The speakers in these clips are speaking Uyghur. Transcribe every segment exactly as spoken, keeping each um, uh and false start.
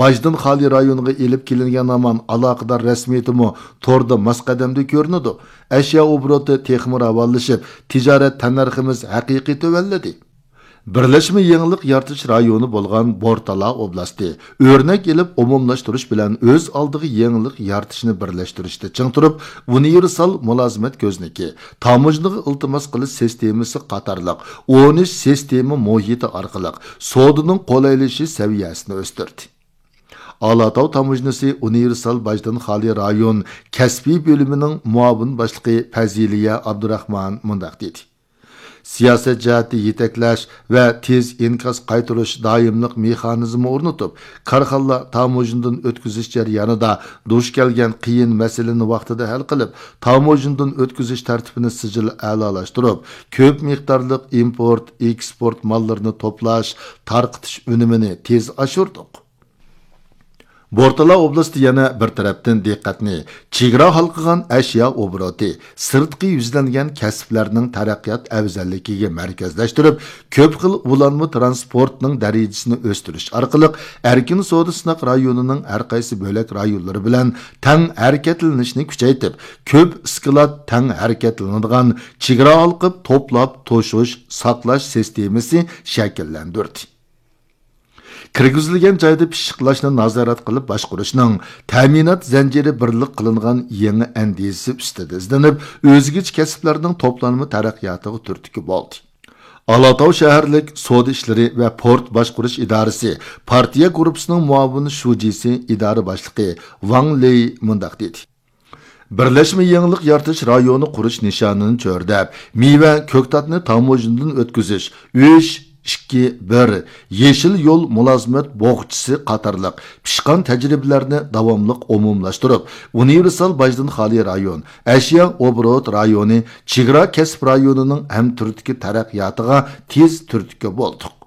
باجدىن خالىي رايونىغا ئېلىپ كېلىنگەن ھامان ئالاقىدار رەسمىيىتىمۇ توردا ماس قەدەمدە كۆرۈنىدۇ. ئەشيا ئوبوروتى تېخىمۇ راۋانلىشىپ، تىجارەت تەننەرخىمىز ھەقىقىي تۆۋەنلىدى. بىرلەشمە يېڭىلىق يارىتىش رايونى بولغان بورتالا ئوبلاستى ئۆرنەك ئېلىپ ئومۇملاشتۇرۇش بىلەن ئۆز ئالدىغا يېڭىلىق يارىتىشنى بىرلەشتۈرۈشتە چىڭ تۇرۇپ، ئۇنىۋېرسال مۇلازىمەت كۆزنىكى، تاموژنىغا ئىلتىماس قىلىش سىستېمىسى قاتارلىق ئون ئۈچ سىستېما مۇھىتى ئارقىلىق سودىنىڭ قولايلىشىش سەۋىيەسىنى ئۆستۈردى. ئالاتاۋ تاموژنىسى ئۇنىۋېرسال باجدىن خالىي رايون كەسپىي بۆلۈمىنىڭ مۇئاۋىن باشلىقى پەزىلىيە ئابدۇراخمان مۇنداق دېدى: سىياسەت جەھەتتە يېتەكلەش ۋە تېز ئىنكاس قايتۇرۇش دائىملىق مېخانىزمى ئورنىتىپ، كارخانىلار تاموژنىدىن ئۆتكۈزۈش جەريانىدا دۇچ كەلگەن قىيىن مەسىلىنى ۋاقتىدا ھەل قىلىپ، تاموژنىدىن ئۆتكۈزۈش تەرتىپىنى سىجىل ئەلالاشتۇرۇپ، كۆپ مىقدارلىق ئىمپورت، ئېكسپورت ماللىرىنى توپلاش، تارقىتىش ئۈنۈمىنى تېز ئاشۇردۇق. بورتالا ئوبلاستى يەنە بىر تەرەپتىن دىققەتنى چېگرا ھالقىغان ئەشيا ئوبوروتى، سىرتقا يۈزلەنگەن كەسىپلەرنىڭ تەرەققىيات ئەۋزەللىكىگە مەركەزلەشتۈرۈپ، كۆپ خىل ئۇلانما تىرانسپورتنىڭ دەرىجىسىنى ئۆستۈرۈش ئارقىلىق ئەركىن سودا سىناق رايونىنىڭ ھەر قايسى بۆلەك رايونلىرى بىلەن تەڭ ھەرىكەتلىنىشنى كۈچەيتىپ، كۆپ ئىسكىلات تەڭ ھەرىكەتلىنىدىغان چېگرا ھالقىپ توپلاپ توشۇش، ساقلاش سىستېمىسى شەكىللەندۈردى. كىرگۈزۈلگەن جايدا پىششىقلاشنى نازارەت قىلىپ باشقۇرۇشنىڭ تەمىنات زەنجىرى بىرلىك قىلىنغان يېڭى ئەندىزىسى ئۈستىدە ئىزدىنىپ، ئۆزگىچە كەسىپلەرنىڭ توپلانما تەرەققىياتىغا تۈرتكە بولدى. ئالاتاۋ شەھەرلىك سودا ئىشلىرى ۋە پورت باشقۇرۇش ئىدارىسى پارتىيە گۇرۇپپىسىنىڭ مۇئاۋىن شۇجىسى، ئىدارە باشلىقى ۋاڭ لېي مۇنداق دېدى: بىرلەشمە يېڭىلىق يارىتىش رايونى قۇرۇش نىشانىنى چۆرىدەپ، مېۋە، كۆكتاتنى تاموژنىدىن ئۆتكۈزۈش، ئۈچ، ئىككى، بىر، يېشىل يول مۇلازىمەت بوغچىسى قاتارلىق پىشقان تەجرىبىلەرنى داۋاملىق ئومۇملاشتۇرۇپ، ئۇنىۋېرسال باجدىن خالىي رايون، ئەشيا ئوبوروت رايونى، چېگرا كەسىپ رايونىنىڭ ھەمتۈرتكە تەرەققىياتىغا تېز تۈرتكە بولدۇق.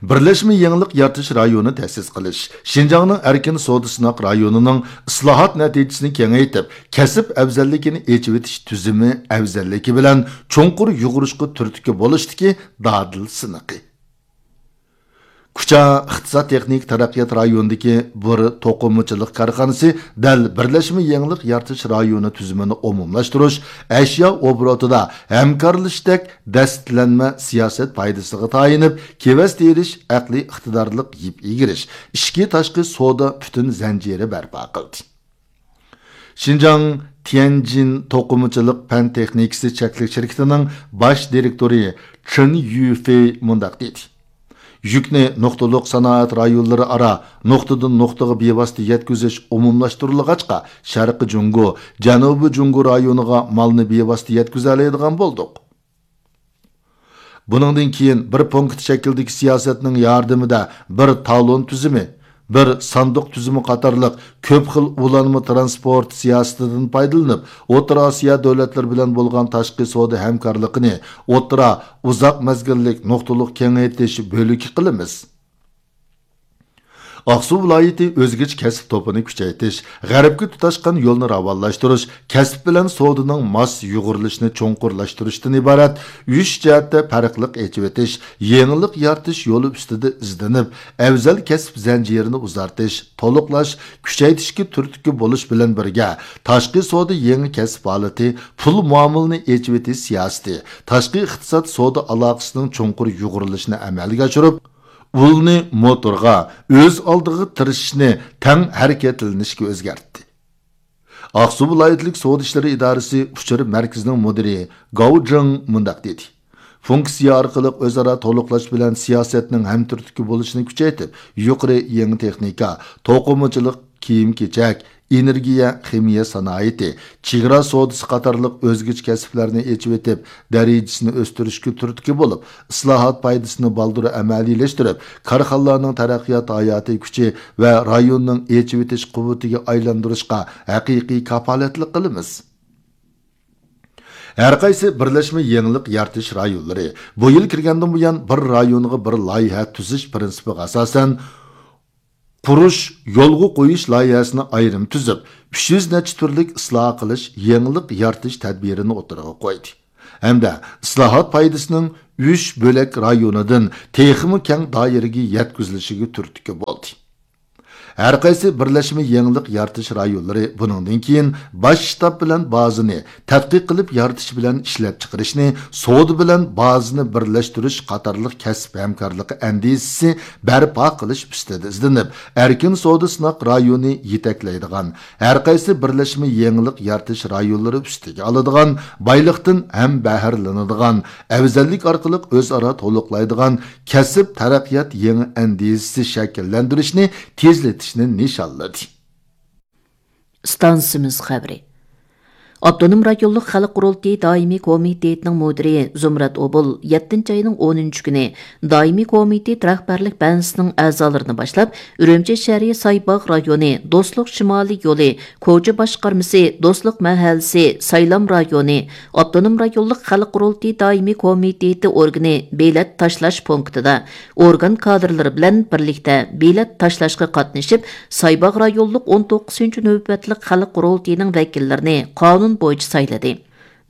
بىرلەشمە يېڭىلىق يارىتىش رايونى تەسىس قىلىش، شىنجاڭنىڭ ئەركىن سودا سىناق رايونىنىڭ ئىسلاھات نەتىجىسىنى كېڭەيتىپ، كەسىپ ئەۋزەللىكىنى ئېچىۋېتىش تۈزۈمى ئەۋزەللىكى بىلەن چوڭقۇر يۇغۇرۇشقا تۈرتكە بولۇشتىكى دادىل سىنىقى. كۇچا ئىقتىساد تېخنىكا تەرەققىيات رايونىدىكى بىر توقۇمىچىلىق كارخانىسى دەل بىرلەشمە يېڭىلىق يارىتىش رايونى تۈزۈمىنى ئومۇملاشتۇرۇش، ئەشيا ئوبوروتىدا ھەمكارلىشىشتەك دەستىلەنمە سىياسەت پايدىسىغا تايىنىپ، كېۋەز تېرىش، ئەقلىي ئىقتىدارلىق يىپ ئېگىرىش، ئىچكى تاشقى سودا پۈتۈن زەنجىرى بەرپا قىلدى. شىنجاڭ تيەنجىن توقۇمىچىلىق پەن تېخنىكىسى چەكلىك شىركىتىنىڭ باش دىرېكتورى چېن يۈفېي مۇنداق دېدى: يۈكنى نۇقتىلىق سانائەت رايونلىرى ئارا نۇقتىدىن نۇقتىغا بىۋاسىتە يەتكۈزۈش ئومۇملاشتۇرۇلغاچقا، شەرقىي جۇڭگو، جەنۇبىي جۇڭگو رايونىغا مالنى بىۋاسىتە يەتكۈزەلەيدىغان بولدۇق. بۇنىڭدىن كېيىن بىر پونكىت شەكلىدىكى سىياسەتنىڭ ياردىمىدە بىر تالون تۈزۈمى، بىر ساندۇق تۈزۈمى قاتارلىق كۆپ خىل ئۇلانما تىرانسپورت سىياسىتىدىن پايدىلىنىپ، ئوتتۇرا ئاسىيا دۆلەتلىرى بىلەن بولغان تاشقى سودا ھەمكارلىقىنى ئوتتۇرا، ئۇزاق مەزگىللىك نۇقتىلىق كېڭەيتىش بۆلىكى قىلىمىز. ئاقسۇ ۋىلايىتى ئۆزگىچە كەسىپ توپىنى كۈچەيتىش، غەربكە تۇتاشقان يولنى راۋانلاشتۇرۇش، كەسىپ بىلەن سودىنىڭ ماس يۇغۇرۇلۇشىنى چوڭقۇرلاشتۇرۇشتىن ئىبارەت ئۈچ جەھەتتە پەرقلىق ئېچىۋېتىش، يېڭىلىق يارىتىش يولى ئۈستىدە ئىزدىنىپ، ئەۋزەل كەسىپ زەنجىرىنى ئۇزارتىش، تولۇقلاش، كۈچەيتىشكە تۈرتكە بولۇش بىلەن بىرگە، تاشقى سودا يېڭى كەسىپ ھالىتى، پۇل مۇئامىلىنى ئېچىۋېتىش سىياسىتى، تاشقى ئىقتىساد سودا ئالاقىسىنىڭ چوڭقۇر يۇغۇرۇلۇشىنى ئەمەلگە ئاشۇرۇپ، ئۇلنى موتورغا، ئۆز ئالدىغا تىرىشىشنى تەڭ ھەرىكەتلىنىشكە ئۆزگەرتتى. ئاقسۇ ۋىلايەتلىك سودا ئىشلىرى ئىدارىسى ئۇچۇر مەركىزىنىڭ مۇدىرى گاۋ جېڭ مۇنداق دېدى: فۇنكسىيە ئارقىلىق ئۆزئارا تولۇقلاش بىلەن سىياسەتنىڭ ھەمتۈرتكە بولۇشىنى كۈچەيتىپ، يۇقىرى يېڭى تېخنىكا، توقۇمىچىلىق، كىيىم-كېچەك، ئېنېرگىيە، خىمىيە سانائىتى، چېگرا سودىسى قاتارلىق ئۆزگىچە كەسىپلەرنى ئېچىۋېتىپ، دەرىجىسىنى ئۆستۈرۈشكە تۈرتكە بولۇپ، ئىسلاھات پايدىسىنى بالدۇر ئەمەلىيلەشتۈرۈپ، كارخانىلارنىڭ تەرەققىيات ھاياتىي كۈچى ۋە رايوننىڭ ئېچىۋېتىش قۇۋۋىتىگە ئايلاندۇرۇشقا ھەقىقىي كاپالەتلىك قىلىمىز. ھەرقايسى بىرلەشمە يېڭىلىق يارىتىش رايونلىرى بۇ يىل كىرگەندىن بۇيان، بىر رايونغا بىر لايىھە تۈزۈش پىرىنسىپىغا ئاساسەن، قۇرۇش، يولغا قويۇش لايىھەسىنى ئايرىم تۈزۈپ، ئۈچ يۈز نەچچە تۈرلۈك ئىسلاھ قىلىش، يېڭىلىق يارىتىش تەدبىرىنى ئوتتۇرىغا قويدى ھەمدە ئىسلاھات پايدىسىنىڭ ئۈچ بۆلەك رايونىدىن تېخىمۇ كەڭ دائىرىگە يەتكۈزۈلۈشىگە تۈرتكە بولدى. ھەرقايسى بىرلەشمە يېڭىلىق يارىتىش رايونلىرى بۇنىڭدىن كېيىن باش شتاب بىلەن بازىنى تەتقىق قىلىپ يارىتىش بىلەن ئىشلەپچىقىرىشنى، سودا بىلەن بازىنى بىرلەشتۈرۈش قاتارلىق كەسىپ ھەمكارلىقى ئەندىزىسى بەرپا قىلىش ئۈستىدە ئىزدىنىپ، ئەركىن سودا سىناق رايونى يېتەكلەيدىغان، ھەرقايسى بىرلەشمە يېڭىلىق يارىتىش رايونلىرى ئۈستىگە ئالىدىغان، بايلىقتىن ھەم بەھرىلىنىدىغان، ئەۋزەللىك ئارقىلىق ئۆزئارا تولۇقلايدىغان كەسىپ تەرەققىيات يېڭى ئەندىزىسى شەكىللەندۈرۈشنى تېزلىتىشنى نىشانلىدى. ئىستانسىمىز خەۋىرى. ئاپتونوم رايونلۇق خەلق قۇرۇلتىيى دائىمىي كومىتېتىنىڭ مۇدىرى زۇمرەت ئوبۇل يەتتىنچى ئاينىڭ ئونىنچى كۈنى دائىمىي كومىتېت رەھبەرلىك بەنزىسىنىڭ ئەزالىرىنى باشلاپ، ئۈرۈمچى شەھىرى سايباغ رايونى دوستلۇق شىمالىي يولى كوچا باشقارمىسى، دوستلۇق مەھەللىسى، سايلام رايونى، ئاپتونوم رايونلۇق خەلق قۇرۇلتىيى دائىمىي كومىتېتى ئورگىنى بېلەت تاشلاش پونكىتىدا ئورگان كادىرلىرى بىلەن بىرلىكتە بېلەت تاشلاشقا قاتنىشىپ، سايباغ رايونلۇق ئون توققۇزىنچى نۆۋەتلىك خەلق قۇرۇلتىيىنىڭ ۋەكىللىرىنى قانۇن بويىچە سايلىدى.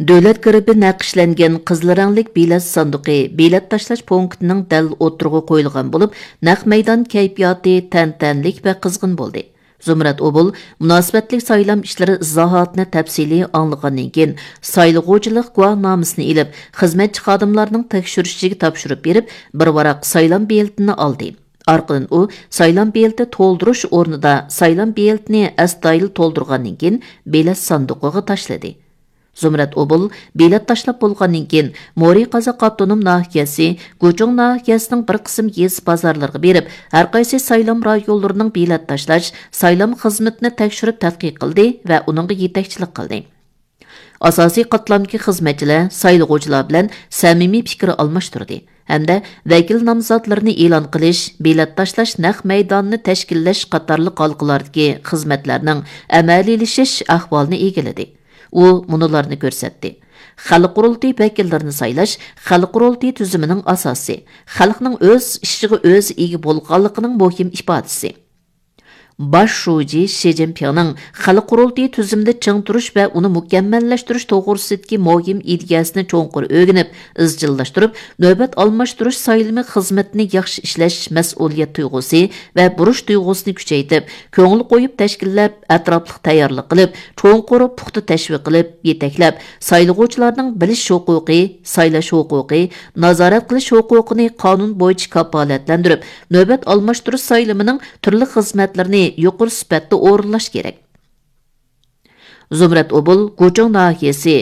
دۆلەت گېربى نەقىشلەنگەن قىزىل رەڭلىك بېلەت ساندۇقى بېلەت تاشلاش پونكىتىنىڭ دەل ئوتتۇرىغا قويۇلغان بولۇپ، نەق مەيدان كەيپىياتى تەنتەنىلىك ۋە قىزغىن بولدى. زۇمرەت ئوبۇل مۇناسىۋەتلىك سايلام ئىشلىرى ئىزاھاتىنى تەپسىلىي ئاڭلىغاندىن كېيىن، سايلىغۇچىلىق گۇۋاھنامىسىنى ئېلىپ، خىزمەتچى خادىملارنىڭ تەكشۈرۈشىگە تاپشۇرۇپ بېرىپ، بىر ۋاراق سايلام بېلىتىنى ئالدى. ئارقىدىن ئۇ سايلام بېلىتى تولدۇرۇش ئورنىدا سايلام بېلىتىنى ئەستايىدىل تولدۇرغاندىن كېيىن، بېلەت ساندۇقىغا تاشلىدى. زۇمرەت ئوبۇل بېلەت تاشلاپ بولغاندىن كېيىن، مورى قازاق ئاپتونوم ناھىيەسى، گۇچۇڭ ناھىيەسىنىڭ بىر قىسىم يېزا بازارلىرىغا بېرىپ، ھەرقايسى سايلام رايونلىرىنىڭ بېلەت تاشلاش، سايلام خىزمىتىنى تەكشۈرۈپ تەتقىق قىلدى ۋە ئۇنىڭغا يېتەكچىلىك قىلدى. ئاساسىي قاتلامدىكى خىزمەتچىلەر سايلىغۇچىلار بىلەن سەمىمىي پىكىر ئالماشتۇردى ھەمدە ۋەكىل نامزاتلىرىنى ئېلان قىلىش، بېلەت تاشلاش، نەق مەيدانىنى تەشكىللەش قاتارلىق ھالقىلاردىكى خىزمەتلەرنىڭ ئەمەلىيلىشىش ئەھۋالىنى ئىگىلىدى. ئۇ مۇنۇلارنى كۆرسەتتى: خەلق قۇرۇلتىيى ۋەكىللىرىنى سايلاش خەلق قۇرۇلتىيى تۈزۈمىنىڭ ئاساسى، خەلقنىڭ ئۆز ئىشىغا ئۆزى ئىگە بولغانلىقىنىڭ مۇھىم ئىپادىسى. باش شۇجى شى جىنپىڭنىڭ خەلق قۇرۇلتىيى تۈزۈمىدە چىڭ تۇرۇش ۋە ئۇنى مۇكەممەللەشتۈرۈش توغرىسىدىكى مۇھىم ئىدىيەسىنى چوڭقۇر ئۆگىنىپ، ئىزچىللاشتۇرۇپ، نۆۋەت ئالماشتۇرۇش سايلىمى خىزمىتىنى ياخشى ئىشلەش مەسئۇلىيەت تۇيغۇسى ۋە بۇرچ تۇيغۇسىنى كۈچەيتىپ، كۆڭۈل قويۇپ تەشكىللەپ، ئەتراپلىق تەييارلىق قىلىپ، چوڭقۇر پۇختا تەشۋىق قىلىپ، يېتەكلەپ، سايلىغۇچىلارنىڭ بىلىش ھوقۇقى، سايلاش ھوقۇقى، نازارەت قىلىش ھوقۇقىنى قانۇن بويىچە كاپالەتلەندۈرۈپ، نۆۋەت ئالماشتۇرۇش سايلىمىنىڭ تۈرلۈك خىزمەتلىرىنى يۇقىرى سۈپەتتە ئورۇنلاش كېرەك. زۇمرەت ئوبۇل گۇچۇڭ ناھىيەسى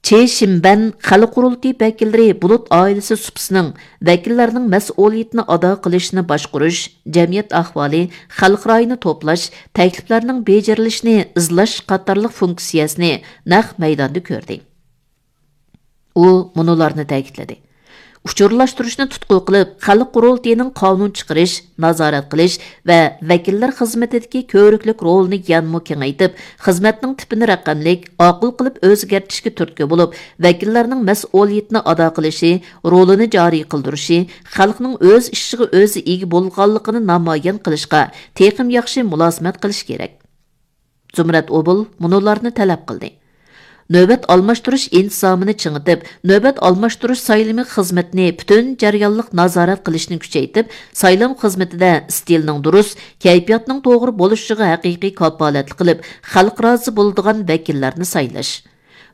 چې شىمبەن خەلق قۇرۇلتىيى ۋەكىللىرى بۇلۇت ئائىلىسى سۇپىسىنىڭ ۋەكىللەرنىڭ مەسئۇلىيىتىنى ئادا قىلىشنى باشقۇرۇش، جەمئىيەت ئەھۋالى، خەلق رايىنى توپلاش، تەكلىپلەرنىڭ بېجىرىلىشىنى ئىزلاش قاتارلىق فۇنكسىيەسىنى نەق مەيداندا كۆردى. ئۇ مۇنۇلارنى تەكىتلىدى: ئۇچۇرلاشتۇرۇشنى تۇتقا قىلىپ، خەلق قۇرۇلتىيىنىڭ قانۇن چىقىرىش، نازارەت قىلىش ۋە ۋەكىللەر خىزمىتىدىكى كۆرۈكلۈك رولىنى يەنىمۇ كېڭەيتىپ، خىزمەتنىڭ تىپىنى رەقەملىك، ئاقىل قىلىپ ئۆزگەرتىشكە تۈرتكە بولۇپ، ۋەكىللەرنىڭ مەسئۇلىيىتىنى ئادا قىلىشى، رولىنى جارى قىلدۇرۇشى، خەلقنىڭ ئۆز ئىشىغا ئۆزى ئىگە بولغانلىقىنى نامايان قىلىشقا تېخىمۇ ياخشى مۇلازىمەت قىلىش كېرەك. زۇمرەت ئوبۇل مۇنۇلارنى تەلەپ قىلدى: نۆۋەت ئالماشتۇرۇش ئىنتىزامىنى چىڭىتىپ، نۆۋەت ئالماشتۇرۇش سايلىمى خىزمىتىنى پۈتۈن جەريانلىق نازارەت قىلىشنى كۈچەيتىپ، سايلام خىزمىتىدە ئىستىلنىڭ دۇرۇس، كەيپىياتنىڭ توغرا بولۇشىغا ھەقىقىي كاپالەتلىك قىلىپ، خەلق رازى بولىدىغان ۋەكىللەرنى سايلاش.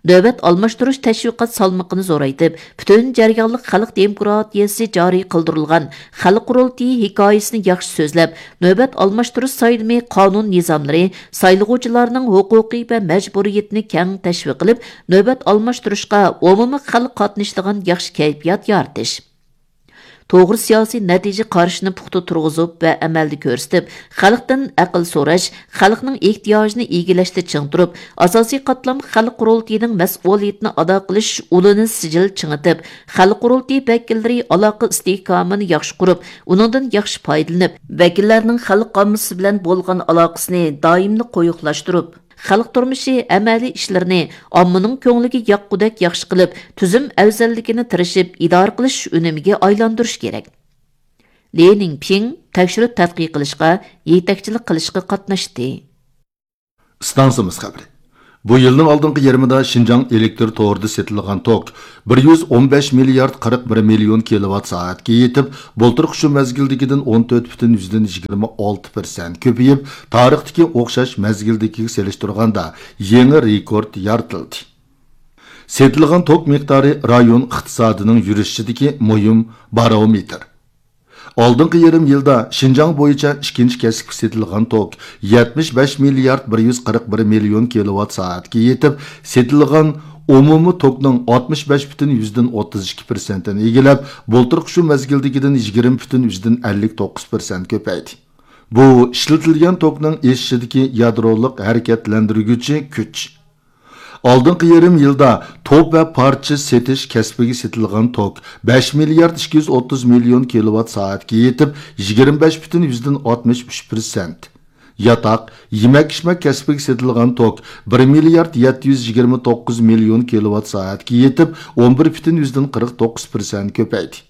نۆۋەت ئالماشتۇرۇش تەشۋىقات سالمىقىنى زورايتىپ، پۈتۈن جەريانلىق خەلق دېموكراتىيەسى جارى قىلدۇرۇلغان خەلق قۇرۇلتىيى ھېكايىسىنى ياخشى سۆزلەپ، نۆۋەت ئالماشتۇرۇش سايلىمى قانۇن نىزاملىرى، سايلىغۇچىلارنىڭ ھوقۇقى ۋە مەجبۇرىيىتىنى كەڭ تەشۋىق قىلىپ، نۆۋەت ئالماشتۇرۇشقا ئومۇمىي خەلق قاتنىشىدىغان ياخشى كەيپىيات يارىتىش. توغرا سىياسىي نەتىجە قارىشىنى پۇختا تۇرغۇزۇپ ۋە ئەمەلدە كۆرسىتىپ، خەلقتىن ئەقىل سوراش، خەلقنىڭ ئېھتىياجىنى ئىگىلەشتە چىڭ تۇرۇپ، ئاساسىي قاتلام خەلق قۇرۇلتىيىنىڭ مەسئۇلىيىتىنى ئادا قىلىش ئۇلىنى سىجىل چىڭىتىپ، خەلق قۇرۇلتىيى ۋەكىللىرى ئالاقە ئىستىھكامىنى ياخشى قۇرۇپ، ئۇنىڭدىن ياخشى پايدىلىنىپ، ۋەكىللەرنىڭ خەلق ئاممىسى بىلەن بولغان ئالاقىسىنى دائىملىق قويۇقلاشتۇرۇپ، خەلق تۇرمۇشى ئەمەلىي ئىشلىرىنى ئاممىنىڭ كۆڭلىگە ياققۇدەك ياخشى قىلىپ، تۈزۈم ئەۋزەللىكىنى تىرىشىپ ئىدارە قىلىش ئۈنۈمىگە ئايلاندۇرۇش كېرەك. لى نىڭپىڭ تەكشۈرۈپ تەتقىق قىلىشقا، يېتەكچىلىك قىلىشقا قاتناشتى. ئىستانسىمىز خەۋىرى. بۇ يىلنىڭ ئالدىنقى يېرىمىدا شىنجاڭ ئېلېكتر تورىدا سېتىلغان توك بىر يۈز ئون بەش مىليارد قىرىق بىر مىليون كىلوۋات سائەتكە يېتىپ، بۇلتۇرقى شۇ مەزگىلدىكىدىن ئون تۆت پۈتۈن يۈزدىن يىگىرمە ئالتە پىرسەنت كۆپىيىپ، تارىختىكى ئوخشاش مەزگىلدىكىگە سېلىشتۇرغاندا يېڭى رېكورت يارىتىلدى. سېتىلغان توك مىقدارى رايون ئىقتىسادىنىڭ يۈرۈشىدىكى مۇھىم بارومېتىر. ئالدىنقى يېرىم يىلدا شىنجاڭ بويىچە ئىككىنچى كەسىپكە سېتىلغان توك يەتمىش بەش مىليارد بىر يۈز قىرىق بىر مىليون كىلوۋات سائەتكە يېتىپ، سېتىلغان ئومۇمىي توكنىڭ ئاتمىش بەش پۈتۈن يۈزدىن ئوتتۇز ئىككى پىرسەنتىنى ئىگىلەپ، بۇلتۇرقى شۇ مەزگىلدىكىدىن يىگىرمە پۈتۈن يۈزدىن ئەللىك توققۇز پىرسەنت كۆپەيدى. بۇ ئىشلىتىلگەن توكنىڭ ئېشىشىدىكى يادرولۇق ھەرىكەتلەندۈرگۈچى كۈچ. ئالدىنقى يېرىم يىلدا توپ ۋە پارچە سېتىش كەسپىگە سېتىلغان توك بەش مىليارد ئىككى يۈز ئوتتۇز مىليون كىلوۋات سائەتكە يېتىپ، يىگىرمە بەش پۈتۈن يۈزدىن ئاتمىش ئۈچ پىرسەنت. ياتاق، يېمەك-ئىچمەك كەسپىگە سېتىلغان توك بىر مىليارد يەتتە يۈز يىگىرمە توققۇز مىليون كىلوۋات سائەتكە يېتىپ، ئون بىر پۈتۈن يۈزدىن قىرىق توققۇز پىرسەنت كۆپەيدى.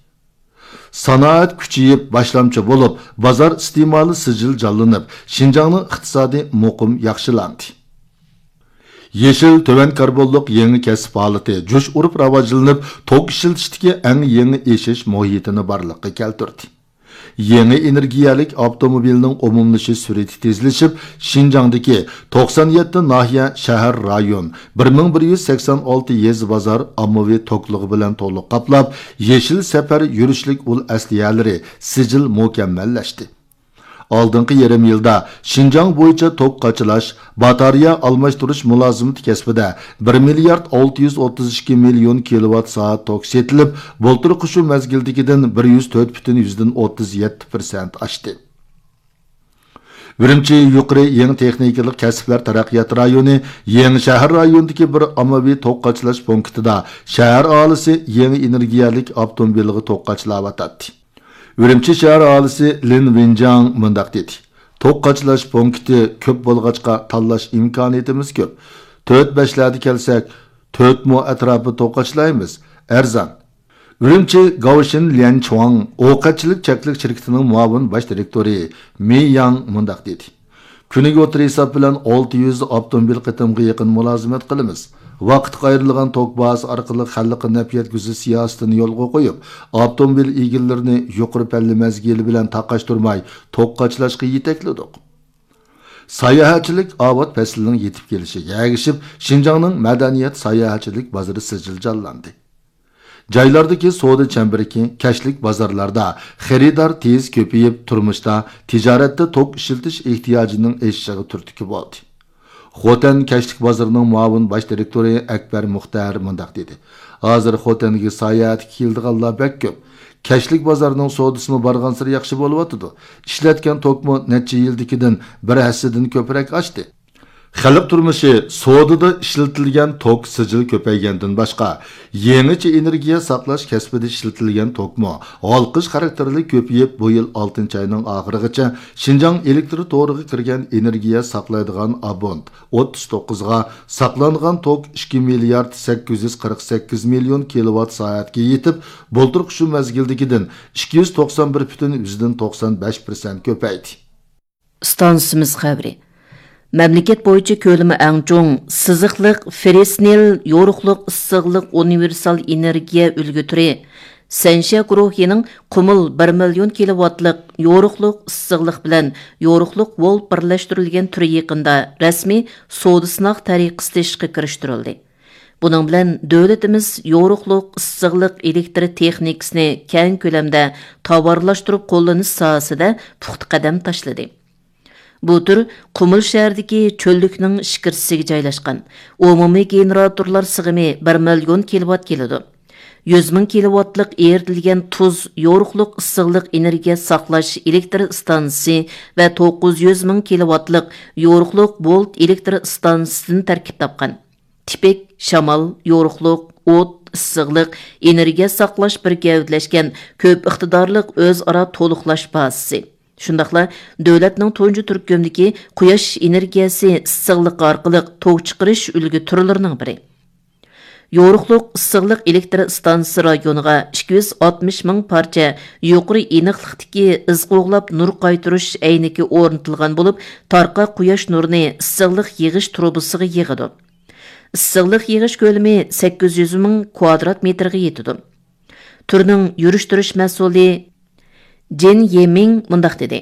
سانائەت كۈچىيىپ، باشلامچى بولۇپ، بازار ئىستېمالى سىجىل جانلىنىپ، شىنجاڭنىڭ ئىقتىسادى مۇقىم ياخشىلاندى. يېشىل، تۆۋەن كاربونلۇق يېڭى كەسىپ ھالىتى جۇش ئۇرۇپ راۋاجلىنىپ، توك ئىشلىتىشتىكى ئەڭ يېڭى ئېشىش مۇھىتىنى بارلىققا كەلتۈردى. يېڭى ئېنېرگىيەلىك ئاپتوموبىلنىڭ ئومۇملىشىش سۈرئىتى تېزلىشىپ، شىنجاڭدىكى توقسان يەتتە ناھىيە، شەھەر، رايون، بىر مىڭ بىر يۈز سەكسەن ئالتە يېزا، بازار ئاممىۋى توكلۇقى بىلەن تولۇق قاپلاپ، يېشىل سەپەر يۈرۈشلۈك ئۇل ئەسلىھەلىرى سىجىل مۇكەممەللەشتى. ئالدىنقى يېرىم يىلدا شىنجاڭ بويىچە توك قاچىلاش، باتارېيە ئالماشتۇرۇش مۇلازىمىتى كەسپىدە بىر مىليارد ئالتە يۈز ئوتتۇز ئىككى مىليون كىلوۋات سائەت توك سېتىلىپ، بۇلتۇرقى شۇ مەزگىلدىكىدىن بىر يۈز تۆت پۈتۈن يۈزدىن ئوتتۇز يەتتە پىرسەنت ئاشتى. ئۈرۈمچى يۇقىرى يېڭى تېخنىكىلىق كەسىپلەر تەرەققىيات رايونى يېڭى شەھەر رايونىدىكى بىر ئاممىۋى توك قاچىلاش پونكىتىدا شەھەر ئاھالىسى يېڭى ئېنېرگىيەلىك ئاپتوموبىلىغا توك قاچىلاۋاتاتتى. ئۈرۈمچى شەھەر ئاھالىسى لىن ۋېنجاڭ مۇنداق دېدى: توك قاچىلاش پونكىتى كۆپ بولغاچقا، تاللاش ئىمكانىيىتىمىز كۆپ. تۆت بەشلەردە كەلسەك، تۆت مو ئەتراپىدا توك قاچىلايمىز. ئەرزان. ئۈرۈمچى گاۋشىن ليەنچۇاڭ ئوقەتچىلىك چەكلىك شىركىتىنىڭ مۇئاۋىن باش دىرېكتورى مېي ياڭ مۇنداق دېدى: كۈنىگە ئوتتۇرا ھېساب بىلەن ئالتە يۈز ئاپتوموبىل قېتىمىغا يېقىن مۇلازىمەت قىلىمىز. ۋاقىتقا ئايرىلغان توك بازىسى ئارقىلىق خەلققە نەپ يەتكۈزۈش سىياسىتىنى يولغا قويۇپ، ئاپتوموبىل ئىگىلىرىنى يۇقىرى پەللە مەزگىلى بىلەن تاقاشتۇرماي توك قاچىلاشقا يېتەكلىدۇق. ساياھەتچىلىك ئاۋات پەسلىنىڭ يېتىپ كېلىشىگە ئەگىشىپ، شىنجاڭنىڭ مەدەنىيەت ساياھەتچىلىك بازىرى سىجىل جانلاندى. جايلاردىكى سودا چەمبىرىكى، كەچلىك بازارلاردا خېرىدار تېز كۆپىيىپ، تۇرمۇشتا، تىجارەتتە توك ئىشلىتىش ئېھتىياجىنىڭ ئېشىشىغا تۈرتكە بولدى. خوتەن كەچلىك بازىرىنىڭ مۇئاۋىن باش دىرېكتورى ئەكبەر مۇختەر مۇنداق دېدى: ھازىر خوتەنگە ساياھەتكە كېلىدىغانلار بەك كۆپ. كەچلىك بازارنىڭ سودىسىمۇ بارغانسېرى ياخشى بولۇۋاتىدۇ. ئىشلەتكەن توكمۇ نەچچە يىلدىكىدىن بىر ھەسسىدىن كۆپرەك ئاشتى. خەلق تۇرمۇشى سودىدا ئىشلىتىلگەن توك سىجىل كۆپەيگەندىن باشقا، يېڭىچە ئېنېرگىيە ساقلاش كەسپىدە ئىشلىتىلگەن توكمۇ ھالقىش خاراكتېرلىك كۆپىيىپ، بۇ يىل ئالتىنچى ئاينىڭ ئاخىرىغىچە شىنجاڭ ئېلېكتر تورىغا كىرگەن ئېنېرگىيە ساقلايدىغان ئابونت ئوتتۇز توققۇزغا، ساقلانغان توك ئىككى مىليارد سەككىز يۈز قىرىق سەككىز مىليون كىلوۋات سائەتكە يېتىپ، بۇلتۇرقى شۇ مەزگىلدىكىدىن ئىككى يۈز توقسان بىر پۈتۈن يۈزدىن توقسان بەش پىرسەنت كۆپەيدى. ئىستانسىمىز خەۋىرى. مەملىكەت بويىچە كۆلىمى ئەڭ چوڭ سىزىقلىق فېررىس نىل يورۇقلۇق ئىسسىقلىق ئۇنىۋېرسال ئېنېرگىيە ئۈلگە تۈرى سەنشيا گۇرۇھىنىڭ قۇمۇل بىر مىليون كىلوۋاتلىق يورۇقلۇق ئىسسىقلىق بىلەن يورۇقلۇق ۋولت بىرلەشتۈرۈلگەن تۈرى يېقىندا رەسمىي سودا سىناق تەرىقىسىدە ئىشقا كىرىشتۈرۈلدى. بۇنىڭ بىلەن دۆلىتىمىز يورۇقلۇق ئىسسىقلىق ئېلېكتر تېخنىكىسىنى كەڭ كۆلەمدە تاۋارلاشتۇرۇپ قوللىنىش ساھەسىدە پۇختا قەدەم تاشلىدى. بۇ تۈر قۇمۇل شەھىرىدىكى چۆللۈكنىڭ ئىچكىرىسىگە جايلاشقان. ئومۇمىي گېنېراتورلار سىغىمى بىر مىليون كىلوۋات كېلىدۇ. يۈز مىڭ كىلوۋاتلىق ئېرىتىلگەن تۇز يورۇقلۇق ئىسسىقلىق ئېنېرگىيە ساقلاش ئېلېكتر ئىستانسىسى ۋە توققۇز يۈز مىڭ كىلوۋاتلىق يورۇقلۇق ۋولت ئېلېكتر ئىستانسىسىدىن تەركىب تاپقان. تىپىك، شامال، يورۇقلۇق، ئوت، ئىسسىقلىق، ئېنېرگىيە ساقلاش بىر گەۋدىلەشكەن كۆپ ئىقتىدارلىق ئۆزئارا تولۇقلاش بازىسى. شۇنداقلا دۆلەتنىڭ تۇنجى تۈركۈمدىكى قۇياش ئېنېرگىيەسى ئىسسىقلىقى ئارقىلىق توك چىقىرىش ئۈلگە تۈرلىرىنىڭ بىرى. يورۇقلۇق ئىسسىقلىق ئېلېكتر ئىستانسىسى رايونىغا ئىككى يۈز ئاتمىش مىڭ پارچە يۇقىرى ئېنىقلىقتىكى ئىز قوغلاپ نۇر قايتۇرۇش ئەينىكى ئورنىتىلغان بولۇپ، تارقا قۇياش نۇرىنى ئىسسىقلىق يىغىش تۇرۇبىسىغا يىغىدۇ. ئىسسىقلىق يىغىش كۆلىمى سەككىز يۈز مىڭ كۋادرات مېتىرغا يېتىدۇ. تۈرنىڭ يۈرۈش تۇرۇش مەسئۇلى جېن يېمىڭ مۇنداق دېدى: